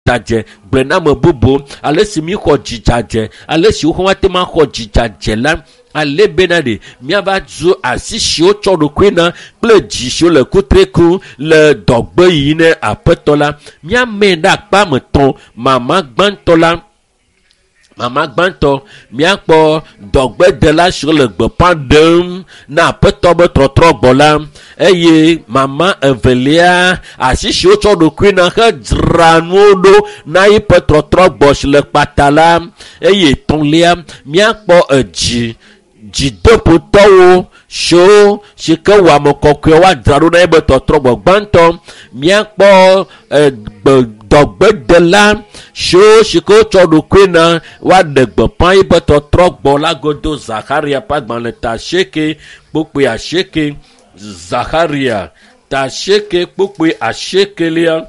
dzadzɛ gblɔe na ame bubu ale si mi xɔ dzidzadzɛ ale si woxɔ ate ma xɔ dzidzadzɛ la ale bena ɖe míava zu asi siwo tsɔ ɖokui na kple dzi siwo le kutre kum le dɔgbe yi ne aƒetɔ la míame ɖe akpa me tɔn mama gbãtɔ la mama gbãtɔ míakpɔ dɔgbedela siwo le gbeƒã ɖem na aƒetɔ be trɔtrɔ gbɔ la eye mama evelia asi siwo tsɔ ɖokui na hedzra nuwo ɖo na eƒe trɔtrɔ gbɔ si le kpata la eye etɔ̃lia míakpɔ edzi dzideƒotɔwo siwo si ke wɔ ame kɔkɔe woadzra ɖo na ebe tɔtrɔ gbɔ gbãtɔ míakpɔ egbe dɔgbedela siwo si ke wotsɔ ɖokui na woaɖe gbeƒã ebe tɔtrɔ gbɔ la godo Zaxaria ƒe agbalẽ ta asieke kpokpoe asieke Zaxaria ta asieke kpokpoe asiekelia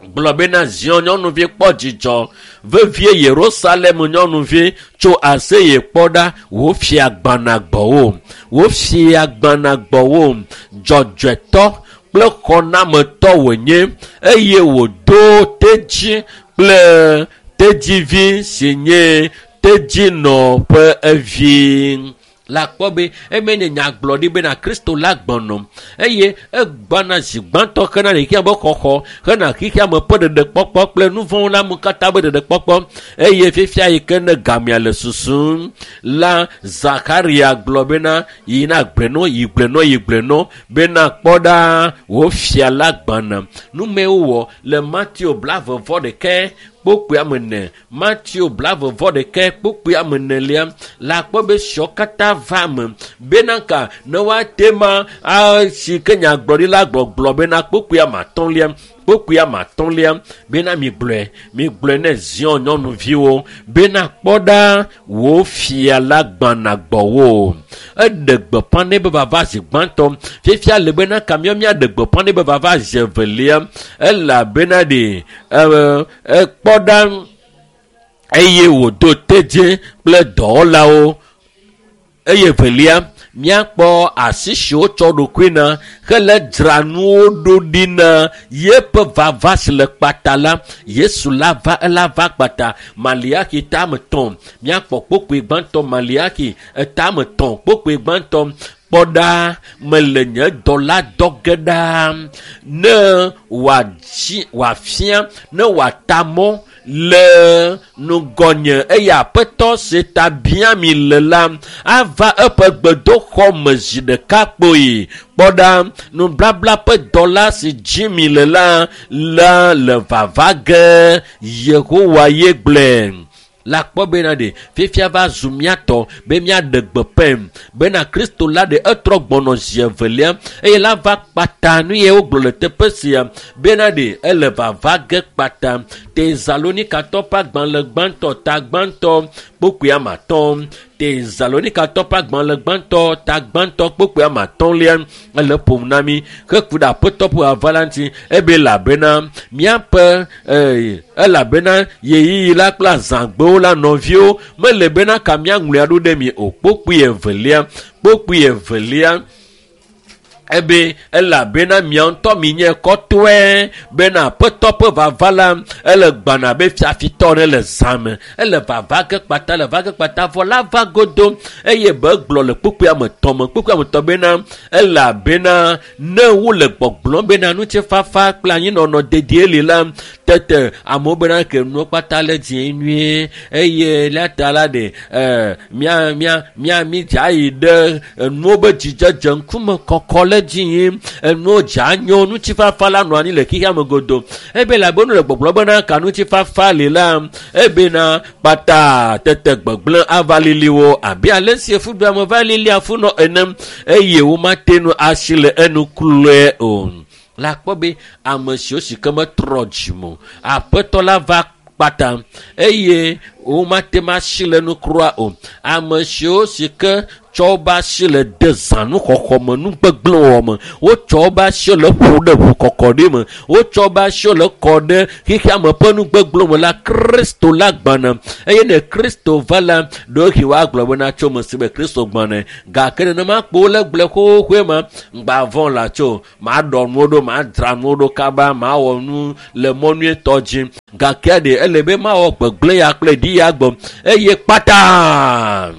gblɔ bena Zion nyɔnuvi kpɔ dzidzɔ vevie Yerusalem nyɔnuvi tso aseye kpɔ ɖa wò fia gbana gbɔwò wò fia gbana gbɔwò dzɔdzɔetɔ kple xɔnametɔ wònye eye wòdo tedzi kple tedzivi si nye tedzinɔ ƒe evi la kpɔ be eme nye nyagblɔɖi bena Kristo la gbɔnɔ eye egbana zi gbãtɔ hena xexea be xɔxɔ hena xexea me ƒe ɖeɖekpɔkpɔ kple nu vɔ̃wo la me katã be ɖeɖekpɔkpɔ eye fifia yi ke ne gamea le susum la Zakaria gblɔ bena yina gblɔe yi gblɔe yi gblɔe bena kpɔ ɖa wò fia la gbana numewo wɔ le Mateo blaeve vɔ ɖeke kpokpoe ame ene Mateo blaeve vɔ ɖeke kpokpoe ame enelia la kpɔ be siawo katã va eme bena ka ne woate ma si ke nyagblɔɖi la gbɔgblɔ bena kpokpoe ame atɔ̃lia kpokpoe ame atɔ̃lia bena migblɔe migblɔe ne Zion nyɔnuviwo bena kpɔ ɖa wò fia la gbana gbɔwò eɖe gbeƒã nɛ be vava zi gbãtɔ fifia le bena ka míawo míaɖe gbeƒã nɛ be vava zi evelia elabena ɖe ekpɔ ɖa eye wòdo tedzi kple dɔwɔlawo eye evelia míakpɔ asi siwo tsɔ ɖokui na hele dzra nuwo ɖo ɖi na yeƒe vava si le kpata la Yesu la va ela va kpata Maliaki tame tɔn míakpɔ kpokpoe gbãtɔ Maliaki etame tɔn kpokpoe gbãtɔ kpɔ ɖa mele nye dɔla dɔ ge ɖa ne wòadzi wòafia ne wòata mɔ le nugɔnye eye aƒetɔ si ta bia mi le la ava eƒe gbedoxɔ me zi ɖeka kpoyi kpɔ ɖa nublabla ƒe dɔla si dzi mi le la la le vava ge Yehowa ye gblɔe la kpɔ bena ɖe fifia va zu míatɔ be míaɖe gbeƒãe bena Kristo la ɖe etrɔ gbɔnɔ zi evelia eye la va kpata nu ye wogblɔ le teƒe sia bena ɖe ele vava ge kpata Tesalonikatɔ ƒe agbalẽ gbãtɔ ta gbãtɔ kpokpoe ame atɔ̃ Tesalonikatɔ ƒe agbalẽ gbãtɔ ta gbãtɔ kpokpoe ame atɔ̃lia ele ƒom na mi heku ɖe aƒetɔ ƒe vava la ŋuti ebe elabena míaƒe elabena ɣeyiɣi la kple azãgbewo la nɔviwo mele bena ka míaŋlɔe aɖo ɖe mi o kpokpoe evelia kpokpoe evelia ebe elabena mia ŋutɔ mi nye kɔtɔe bena aƒetɔ ƒe vava la ele gbana be fiafitɔ ɖe le zã me ele vava ge kpata le va ge kpata vɔ la va godo eye be gblɔ le kpokpoe ame tɔn me kpokpoe ame tɔn bena elabena ne wole gbɔgblɔm bena ŋutifafa kple anyinɔnɔ dedie li la tete amewo bena ke nuwo kpata le dzie nyuie eye la ta la ɖe mia mia mia mi dza yi ɖe enuwo be dzidzedze ŋkume kɔkɔ le dzi yim enuwo dza nyo ŋutifafa la nɔ anyi le xexea me godo ebe labe nu le gbɔgblɔ bena ka ŋutifafa li la ebena kpata tete gbegblẽ ava lili wo abe ale si efuɖuame va lili afunɔ ene eye womate nu asi le enu kloe o la kpɔ be ame siwo si ke metrɔ dzime o aƒetɔ la va kpata eye Womate ŋu asi le nu kura o. Ame siwo si ke tsɔ woƒe asi le de zãnuxɔxɔ me, nugbegblẽwɔwɔ me, wotsɔ woƒe asiwo le ƒo ɖe ʋukɔkɔɖi me, wotsɔ woƒe asiwo le kɔ ɖe xexeame ƒe nugbegblẽ me la, Kristo la gbɔna. Eye ne Kristo va la, ɖewohĩ woagblɔ bena tso me si be Kristo gbɔna. Gake nenema kpo wole gblɔe xoxoe ma, ŋgba vɔ̃ la tso, maɖɔ nuwo ɖo, madzra nuwo ɖo kaba, mawɔ nu le mɔ nyuietɔ dzi. Gake ɖe ele be mawɔ gbegblẽ ya kple ɖi ya gbɔ eye kpata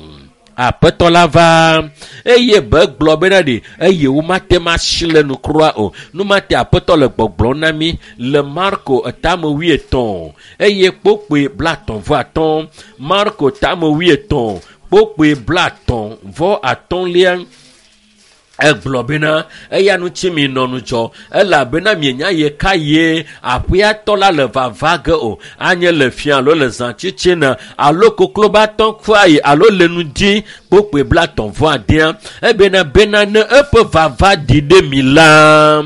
aƒetɔ la va eye be gblɔ bena ɖe eye womate ŋu asi le nu kura o. Numate aƒetɔ le gbɔgblɔm na mi le Marko etame 80 eye kpokpoe 35. Marko tame 80 kpokpoe 35. Egblɔ bena eya ŋuti mi nɔ ŋudzɔ elabena mienya ye ka ye aƒeatɔ la le vava ge o. Anye le fia alo le zãtsitsina alo koklobatɔ kua yi alo le nu dzi kpokpoe 36. Ebena bena ne eƒe vava ɖi ɖe mi la,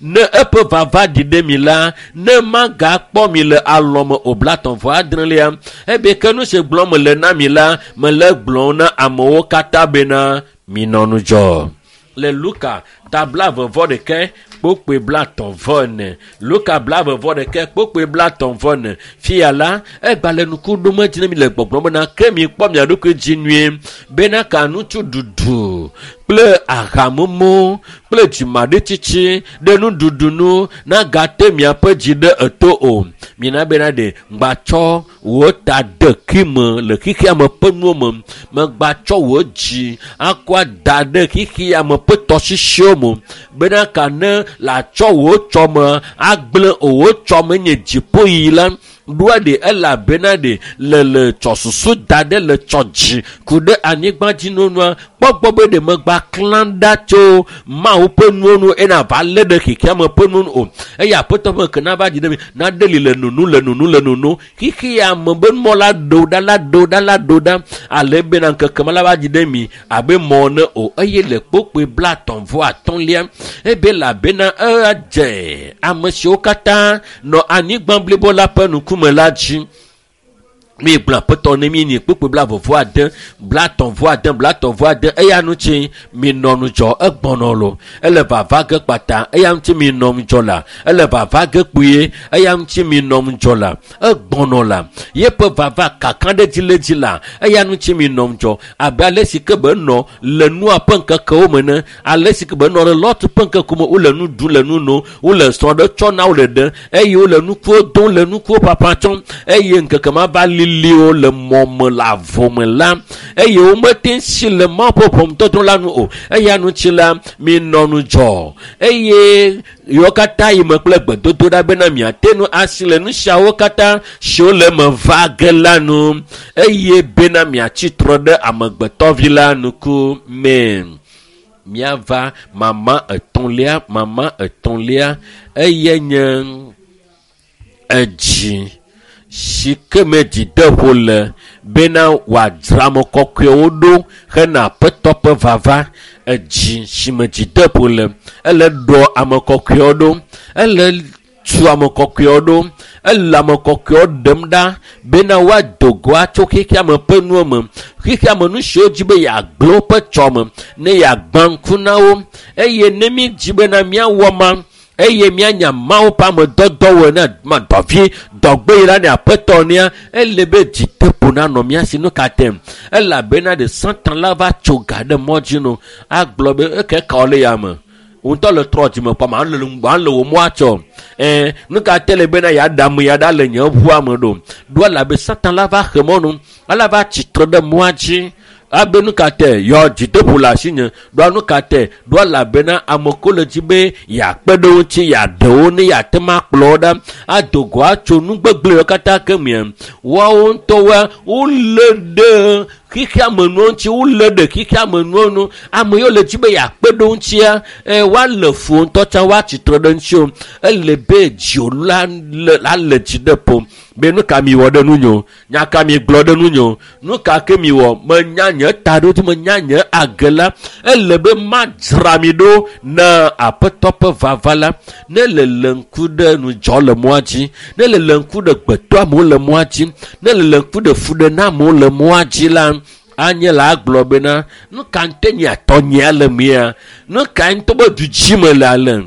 ne eƒe vava ɖi ɖe mi la, ne magakpɔ mi le alɔme o. 36. Ebe ke nu si gblɔm mele na mi la, mele gblɔm na amewo katã bena minɔ ŋudzɔ. Le Luka ta 21 kpokpoe 34. Luka 21 kpokpoe 34. Fia la egba le nuku ɖom edzi ne mi le gbɔgblɔm bena ke mi kpɔ mia ɖokui dzi nyuie bena ka ŋutsu ɖuɖu kple ahamumu kple dzimaɖitsitsi ɖe nuɖuɖu nu nagate miaƒe dzi ɖe eto o. Mina bena ɖe ŋgbatsɔ wò ta de kime le xexeame ƒe nuwo me, megbatsɔ wò dzi akɔ da ɖe xexeame ƒe tɔsisiwo me bena ka ne latsɔ wò tsɔme agblẽ o. Wò tsɔme nye dziƒoyiyi la ɖoa ɖe elabena ɖe le tsɔ susu da ɖe le tsɔ dzi ku ɖe anyigba dzi nonua kpɔgbɔ be ɖe megba klã ɖa tso Mawu ƒe nuwo nu ena va lé ɖe xexeame ƒe nuwo nu o. Eye aƒetɔ ƒe ke nava dzi ɖe mi naɖe li le nunu le nunu le nunu xexeame be mɔ la ɖo ɖa la ɖo ɖa la ɖo ɖa ale bena ŋkeke ma la va dzi ɖe mi abe mɔ ne o. Eye le kpokpoe 35 ebe labena edze ame siwo katã nɔ anyigba blibo la ƒe ŋkume la dzi. Mi gblɔ aƒetɔ ne mi nyi kpokpoe 36 36 36. Eya ŋuti mi nɔ ŋudzɔ egbɔnɔ lo ele vava ge kpata. Eya ŋuti mi nɔ ŋudzɔ la ele vava ge kpuie. Eya ŋuti mi nɔ ŋudzɔ la egbɔnɔ la yeƒe vava kaka ɖe dzi le dzi la. Eya ŋuti mi nɔ ŋudzɔ abe ale si ke be nɔ le nua ƒe ŋkekewo me ne ale si ke be nɔ le Lot ƒe ŋkekewo me wole nu ɖum le nu nom wole srɔ̃ ɖe tsɔ na wole ɖe eye wole nukuwo dom le nukuwo ƒaƒã tsɔm eye ŋkeke ma va liliwo le mɔ me le avɔ me la eye womete si le Mawu ƒe ʋɔnudɔdrɔ̃ la nu o. Eya ŋuti la mi nɔ ŋudzɔ eye yewo katã yi me kple gbedodoɖa bena miate ŋu asi le nu siawo katã siwo le eme va ge la nu eye bena miatsi trɔ ɖe amegbetɔvi la ŋku me. Miava mama etɔ̃lia, mama etɔ̃lia eye nye edzi si ke me dzideƒo le bena wòadzra ame kɔkɔewo ɖo hena aƒetɔ ƒe vava. Edzi si me dzideƒo le ele ɖɔ ame kɔkɔewo ɖo, ele tu ame kɔkɔewo ɖo, ele ame kɔkɔewo ɖem ɖa bena woado go atso xexeame ƒe nuwo me, xexeame nu siwo dzi be yeagblẽ woƒe tsɔme ne yeagbã ŋku na wo. Eye ne mi dzi bena míawɔ ma eye míanya Mawu ƒe amedɔdɔwɔe na ma dɔvi dɔgbe la ne aƒetɔ nea ele be dzideƒo nanɔ mía si. Nu ka te? Elabena ɖe Satan la va tso ga ɖe mɔ dzi no agblɔ be eke ka le ya me ŋutɔ le trɔ dzime kpɔ ma le le wò mɔa tsɔ nu ka te le bena yeaɖe ame ya ɖa le nye ʋua me ɖo ɖo elabe Satan la va xe mɔnu ala va tsitre ɖe mɔa dzi abe nu ka te yɔ dzideƒo le asinye ɖoa nu ka te ɖoa elabena ame ko le dzi be yeakpe ɖe wo ŋuti yeaɖe wo ne yeate ŋu akplɔ wo ɖa ado go atso nu gbegblẽwo katã ke mia woawo ŋutɔwoa wolé ɖe xixia me nuwo ŋuti wole ɖe xixia me nuwo nu ame yiwo le dzi be yeakpe ɖe ŋutia woale fu ŋutɔ tsã woatsitre ɖe ŋuti o ele be dziwò la le dzi ɖe ƒo be nu ka mi wɔ ɖe nunyo nya ka mi gblɔ ɖe nunyo nu ka ke mi wɔ menya nye ta ɖo dzi menya nye age la ele be madzra mi ɖo na aƒetɔ ƒe vava la ne le le ŋku ɖe nudzɔ le mɔa dzi ne le le ŋku ɖe gbetɔ amewo le mɔa dzi ne le le ŋku ɖe fuɖe na amewo le mɔa dzi la anye la agblɔ bena nu ka ŋutɔ nye atɔnyea le mia nu ka ŋutɔ be du dzi me le ale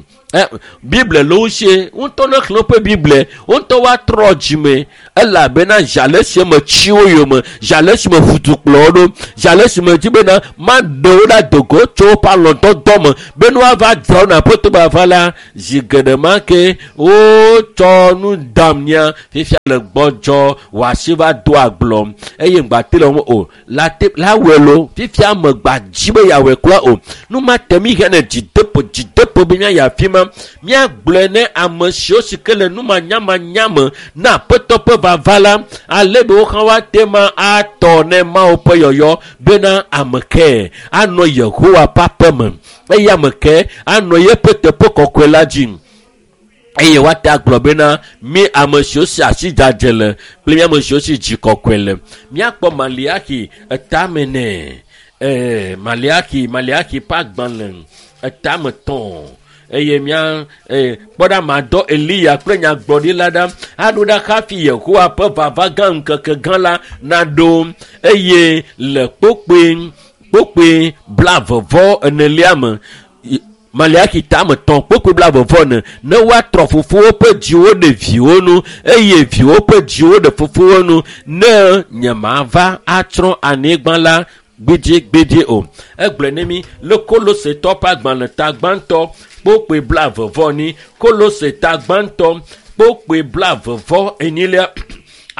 Bible le wo sie ŋutɔ ne xlẽ woƒe Bible ŋutɔ woatrɔ dzime elabena zale si me tsi wo yome zale si me ʋudu kplɔ wo ɖo zale si me dzi bena maɖe wo ɖa dogo tso woƒe alɔdɔdɔ me be ne woava dzra wo na aƒetɔ bava la zi geɖe ma ke wotsɔ nu dam nya fifia le gbɔdzɔ wòasi va do agblɔ eye ŋgbate le wo o la te la wɔe lo fifia me gba dzi be yeawɔe kura o nu ma te mi hene dzideƒo dzideƒo be míayi afi ma míagblɔe ne ame siwo si ke le numanyamanya me na aƒetɔ ƒe vava la ale be wo hã woate ma atɔ ne Mawu ƒe yɔyɔ bena ame ke anɔ Yehowa ƒe aƒe me eye ame ke anɔ yeƒe teƒe kɔkɔe la dzi eye woate agblɔ bena mi ame siwo si asi dzadze le kple mi ame siwo si dzi kɔkɔe le míakpɔ Maliaki etame nɛ Maliaki Maliaki ƒe agbalẽ etame tɔn eye mía kpɔ ɖa madɔ Eliya kple nyagblɔɖila ɖa aɖo ɖa hafi Yehowa ƒe vava gã ŋkeke gã la naɖo eye le kpokpoe kpokpoe 24 me Maliaki tame tɔn kpokpoe 24 ne woatrɔ fofowo ƒe dziwo ɖe viwo nu eye viwo ƒe dziwo ɖe fofowo nu ne nyemava atsrɔ̃ anyigba la gbidigbidi o. Egblɔe ne mi le Kolosetɔ ƒe agbalẽ ta gbãtɔ kpokpoe 24 Kolose ta gbãtɔ kpokpoe 24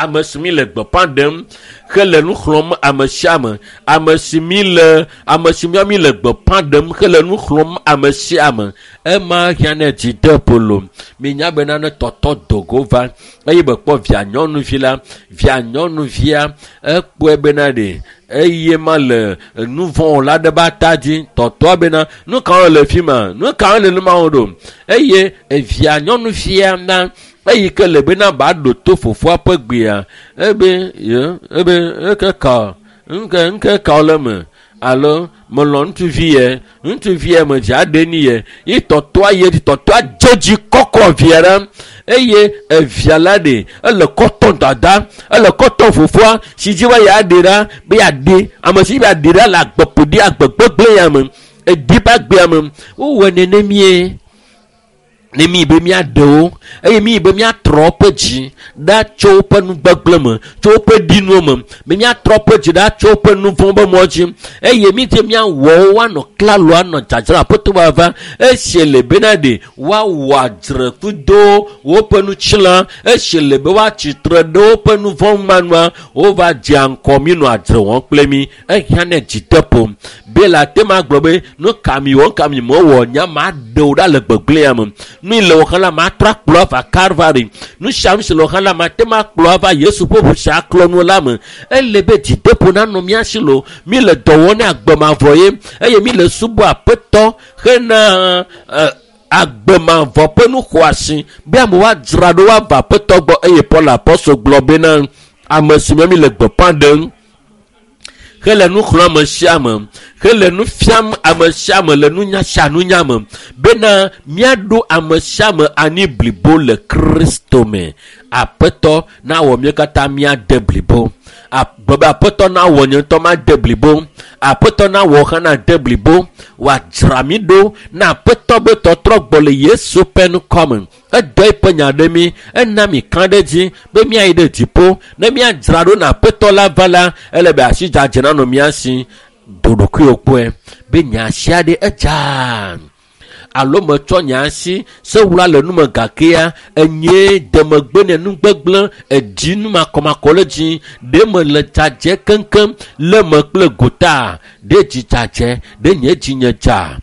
ame si mi le gbeƒã ɖem hele nu xlɔ̃m ame sia ame ame si mi le ame si mi le gbeƒã ɖem hele nu xlɔ̃m ame sia ame ema hiã ne dzideƒo lo minya bena ne tɔtɔ dogo va eye be kpɔ via nyɔnuvi la via nyɔnuvia ekpɔe bena ɖe eye ma le nu vɔ̃ la ɖe be ata dzi tɔtɔa bena nu ka le fi ma nu ka le nu ma wo ɖo eye evia nyɔnuvia na eyi ke le bena ba ɖo to fofoa ƒe gbea ebe ye ebe eke ka ŋke ŋke ka le me alo melɔ ŋutsuvi yɛ ŋutsuvi yɛ me dzi aɖe ni yɛ yi tɔtɔa yɛ dzi tɔtɔa dze dzi kɔkɔ via ɖa eye evia la ɖe ele kɔtɔn dada ele kɔtɔn fofoa si dzi be yeaɖe ɖa be yeaɖe ame si be yeaɖe ɖa le agbeƒoɖi agbegbegblẽ ya me edi be agbea me wowɔ nenemie ne mi be míaɖe wo eye mi be míatrɔ woƒe dzi ɖa tso woƒe nugbegblẽ me tso woƒe ɖinuwo me be míatrɔ woƒe dzi ɖa tso woƒe nu vɔ̃ be mɔ dzi eye mi dze míawɔ wo woanɔ klalo anɔ dzadzra aƒetɔ vava esi le bena ɖe woawɔ adzre kudo woƒe nutsila esi le be woatsi tre ɖe woƒe nu vɔ̃ manua wova dzea ŋkɔ mi nɔ adzre wɔm kple mi ehiã ne dzideƒo be le ate ma gblɔ be nu ka mi wɔ ka mi mewɔ nya ma ɖe wo ɖa le gbegblẽa me nu le wo hã la ma trɔ akplɔ ava Calvary nu sia nu si le wo hã la ma te ma kplɔ ava Yesu ƒe ʋu sia klɔ nu la me ele be dzideƒo nanɔ mía si lo mi le dɔ wɔm ne agbemavɔ ye eye mi le subɔ aƒetɔ hena agbemavɔ ƒe nu xɔasi be amewo adzra ɖo woava aƒetɔ gbɔ eye Paul apɔstol gblɔ bena ame si me mi le gbeƒã ɖem hele nu xlɔ̃m ame sia ame hele nu fiam ame sia ame le nunya sia nunya me bena míaɖo ame sia ame anyi blibo le Kristo me. Aƒetɔ nawɔ mía katã míade blibo. Be aƒetɔ nawɔ nye ŋutɔ made blibo. Aƒetɔ nawɔ hã nade blibo. Wòadzra mí ɖo na aƒetɔ be tɔtrɔ gbɔ le Yesu ƒe ŋkɔ me. Edɔ eƒe nya ɖe mí, ena mí ka ɖe dzi be míayi ɖe dziƒo. Ne míadzra ɖo na aƒetɔ la va la, ele be asi dzadze nanɔ mía si. Do ɖokuiwò kpɔe be nye asi aɖe edza alo metsɔ nye asi sewula le nume gakea enye demegbe ne nugbegblẽ edzi numakɔmakɔ le dzi ɖe me le dzadze keŋkeŋ le me kple gota ɖe dzi dzadze ɖe nye dzi nye dza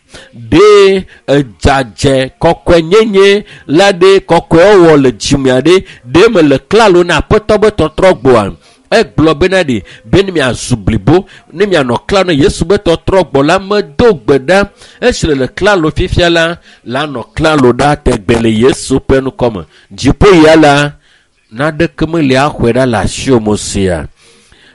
ɖe edzadze kɔkɔenyenye la ɖe kɔkɔewɔwɔ le dzimea ɖe ɖe me le klalo na aƒetɔ be tɔtrɔ gbɔa. Egblɔ bena ɖe be ne miazu blibo, ne mianɔ klalo ne Yesu be tɔtrɔ gbɔ la, medo gbe ɖa. Esi le klalo fifia la, lanɔ klalo ɖa tegbe le Yesu ƒe ŋkɔme. Dziƒo ya la, naɖeke meli axɔe ɖa le asiwò me sia.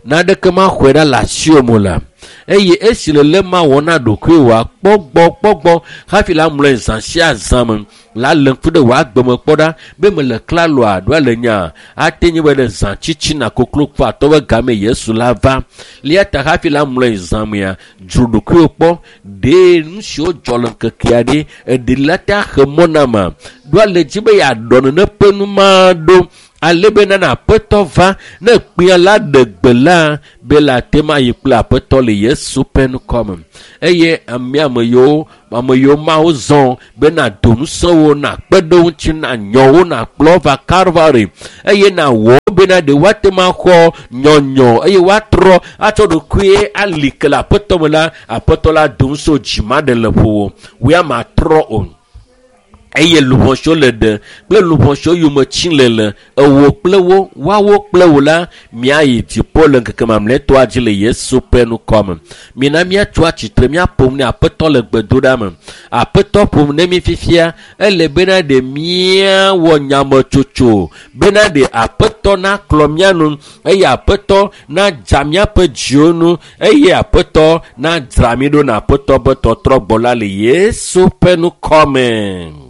Naɖeke maxɔe ɖa le asiwò me la. Eye esi le lé ma wɔ na ɖokuiwòa, kpɔ gbɔ, kpɔ gbɔ hafi la mlɔe zã sia zã me. La lé ŋku ɖe wò agbeme kpɔ ɖa be mele klaloa ɖoa le nya ate nye be ɖe zã tsitsina koklo kpɔ atɔ be game Yesu la va. Lia ta hafi la mlɔe zã mea, dzro ɖokuiwò kpɔ ɖe nu siwo dzɔ le ŋkekea ɖe eɖe la te axe mɔ na ma. Ɖoa le dzi be yeaɖɔ nene ƒe nu ma ɖo ale be nana aƒetɔ va ne kpea la ɖe gbe la be la te ma yi kple aƒetɔ le Yesu ƒe ŋkɔme. Eye ame ame yiwo ame yiwo mawo zɔ be na do ŋusẽ wo, na kpe ɖe wo ŋuti, na nyɔ wo, na kplɔ va Calvary eye na wɔ bena ɖe woate ma xɔ nyɔnyɔ eye woatrɔ atsɔ ɖokuie ali ke le aƒetɔ me la, aƒetɔ la do ŋusẽ wo dzi ma ɖe le ƒo wò ya matrɔ o. Eye luʋɔ siwo le ɖe kple luʋɔ siwo yome tsi le le ewo kple wo, woawo kple wo la, miayi dziƒo le ŋkeke mamlɛtɔa dzi le Yesu ƒe ŋkɔme. Mina míatso atsitre míaƒo nu ne Aƒetɔ le gbedoɖa me. Aƒetɔ ƒo nu ne mí fifia, ele bena ɖe míawɔ nyametsotso bena ɖe Aƒetɔ naklɔ mía nu eye Aƒetɔ nadza míaƒe dziwo nu eye Aƒetɔ nadzra mí ɖo na Aƒetɔ be tɔtrɔ gbɔ la le Yesu ƒe ŋkɔme.